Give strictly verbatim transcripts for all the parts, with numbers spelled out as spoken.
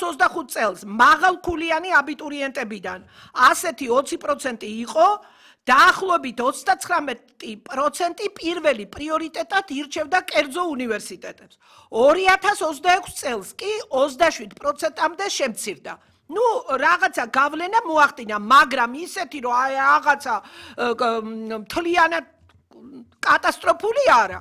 ოცდახუთ წელს მაღალქულიანი აბიტურიენტებიდან ასეთი ოცი პროცენტი იყო დაახლოებით ოცდაცხრამეტი პროცენტი პირველი პრიორიტეტად ირჩევდა კერძო უნივერსიტეტებს. ორი ათას ოცდაექვსი წელს კი ოცდაშვიდ პროცენტამდე შემცირდა. ნუ რაღაცა გავლენა მოახდინა, მაგრამ ისეთი რომ აი რაღაცა მთლიანად კატასტროფული არა.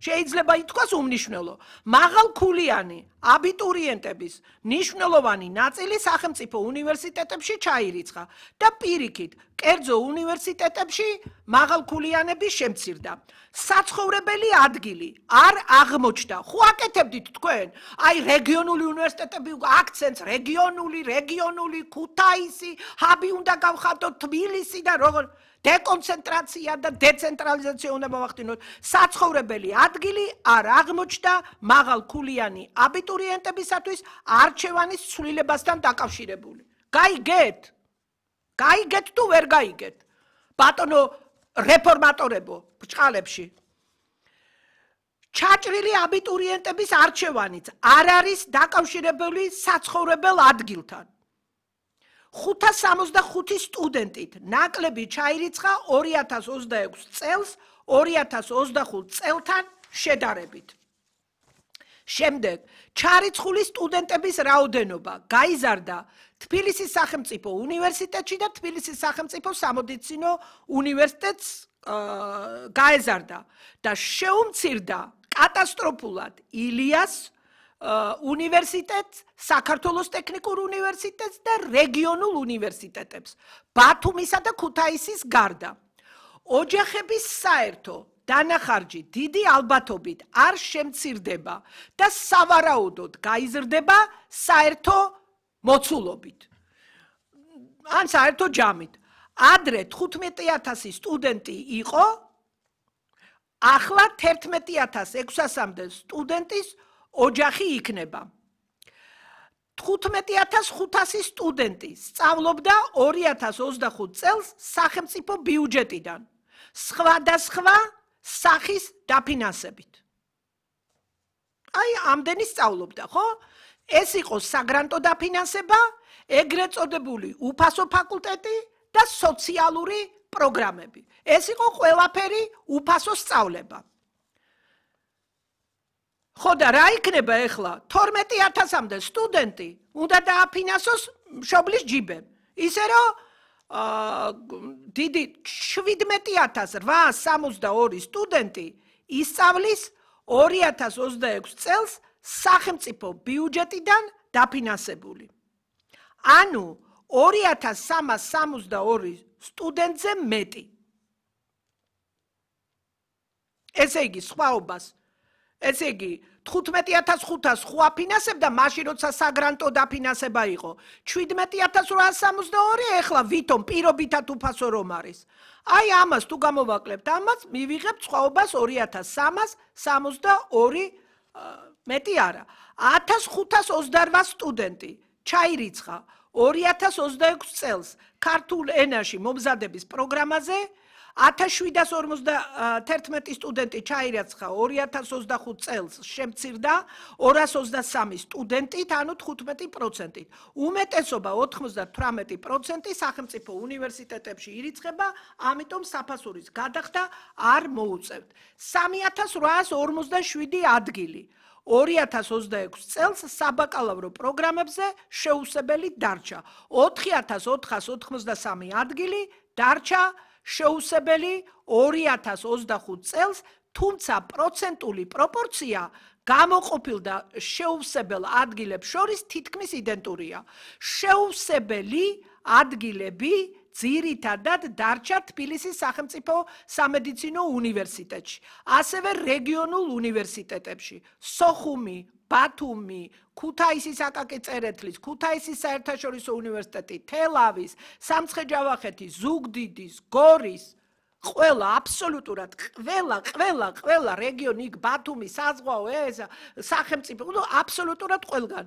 შეიძლება ითქვას უმნიშვნელო. მაღალქულიანი აბიტურიენტების მნიშვნელოვანი ნაწილი სახელმწიფო უნივერსიტეტებში ჩაირიცხა და პირიქით კერძო უნივერსიტეტებში მაღალქულიანების შემცირდა. საცხოვრებელი ადგილი არ აღმოჩნდა. ხო აკეთებდით თქვენ? აი რეგიონული უნივერსიტეტები აქცენტს რეგიონული, რეგიონული, ქუთაისი, ჰაბი უნდა გავხადოთ თბილისი და როგორ დეკონცენტრაცია და დეცენტრალიზაცია უნდა მოვახდინოთ. საცხოვრებელი ადგილი არ აღმოჩნდა მაღალქულიანი აბიტურიენტებისათვის არჩევანის ცვლილებასთან დაკავშირებული. გაიგეთ? გაიგეთ თუ ვერ გაიგეთ? ბატონო რეფორმატორებო ბრჭყალებში. ჩაჭრილი აბიტურიენტების არჩევანიც არ არის დაკავშირებული საცხოვრებელ ადგილთან. ხუთას სამოცდახუთი სტუდენტით ნაკლები ჩაირიცხა ორი ათას ოცდაექვსი წელს ორი ათას ოცდახუთ წელთან შედარებით. შემდეგ ჩარიცხული სტუდენტების რაოდენობა გაიზარდა თბილისის სახელმწიფო უნივერსიტეტში და თბილისის სახელმწიფო სამედიცინო უნივერსიტეტს გაეზარდა და შეუმცირდა კატასტროფულად ილიას უნივერსიტეტს, საქართველოს ტექნიკურ უნივერსიტეტს და რეგიონულ უნივერსიტეტებს, ბათუმისა და ქუთაისის გარდა. ოჯახების საერთო დანახარჯი დიდი ალბათობით არ შემცირდება და სავარაუდოდ გაიზრდება საერთო მოცულობით. ან საერთო ჯამით. ადრე თხუთმეტი ათასი სტუდენტი იყო, ახლა თერთმეტი ათას ექვსასამდე სტუდენტის ოჯახი იქნება. თხუთმეტი ათას ხუთასი სტუდენტი სწავლობდა ორი ათას ოცდახუთ წელს სახელმწიფო ბიუჯეტიდან, სხვადასხვა სახის დაფინანსებით. აი, ამდენი სწავლობდა, ხო? ეს იყო საგრანტო დაფინანსება, ეგრეთ წოდებული უფასო ფაკულტეტი და სოციალური პროგრამები. ეს იყო ყველაფერი უფასო სწავლება. ხო და რა იქნება ახლა? თორმეტი ათასამდე სტუდენტი უნდა დააფინანსოს მშობლის ჯიბემ. ისე რომ დიდი შვიდმეტი ათას რვაას სამოცდაორი სტუდენტი ისწავლის ორი ათას ოცდაექვსი წელს სახელმწიფო ბიუჯეტიდან დაფინანსებული. ანუ ორი ათას სამას სამოცდაორი სტუდენტზე მეტი. ესე იგი სხვაობას ესე იგი თხუთმეტი ათას ხუთას ხო აფინანსებდა მაშინ როცა საგრანტო დაფინანსება იყო. შვიდმეტი ათას რვაას სამოცდაორი ეხლა ვითომ პირობითად უფასო რომ არის. აი ამას თუ გამოვაკლებთ, ამას მივიღებთ სხვაობას ორი ათას სამას სამოცდაორი მეტი არა. ათას ხუთას ოცდარვა სტუდენტი ჩაირიცხა ორი ათას ოცდაექვსი წელს ქართულ ენაში მომზადების პროგრამაზე, ათას შვიდას ორმოცდათერთმეტი სტუდენტი ჩაირიცხა ორი ათას ოცდახუთ წელს შემცირდა ორას ოცდასამი სტუდენტით, ანუ თხუთმეტი პროცენტით. უმეტესობა ოთხმოცდათვრამეტი პროცენტი სახელმწიფო უნივერსიტეტებში ირიცხება, ამიტომ საფასურის გადახდა არ მოუწევთ. სამი ათას რვაას ორმოცდაშვიდი ადგილი ორი ათას ოცდაექვსი წელს საბაკალავრო პროგრამებზე შეუსებელი დარჩა. ოთხი ათას ოთხას ოთხმოცდასამი ადგილი დარჩა შეუსებელი ორი ათას ოცდახუთ წელს, თუმცა პროცენტული პროპორცია გამოყოფილდა შეუსებელ ადგილებს შორის თითქმის იდენტურია. შეუსებელი ადგილები ძირითადად დარჩა თბილისის სახელმწიფო სამედიცინო უნივერსიტეტში, ასევე რეგიონულ უნივერსიტეტებში, სოხუმი, ბათუმი, ქუთაისის აკაკი წერეთლის, ქუთაისის საერთაშორისო უნივერსიტეტი, თელავის, სამცხე-ჯავახეთის, ზუგდიდის, გორის, ყველა აბსოლუტურად ყველა ყველა ყველა რეგიონი იქ ბათუმი, საზღვაო, ეს სახელმწიფო, აბსოლუტურად ყველგან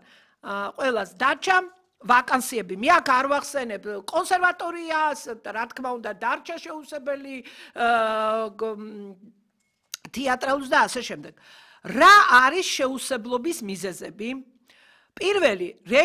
ყველას დარჩა ვაკანსიები. მე აქ არ ვახსენებ კონსერვატორიას, რა თქმა უნდა, დარჩა შეუსებელი თეატრალურს და ასე შემდეგ. რა არის შეუსებლობის მიზეზები? პირველი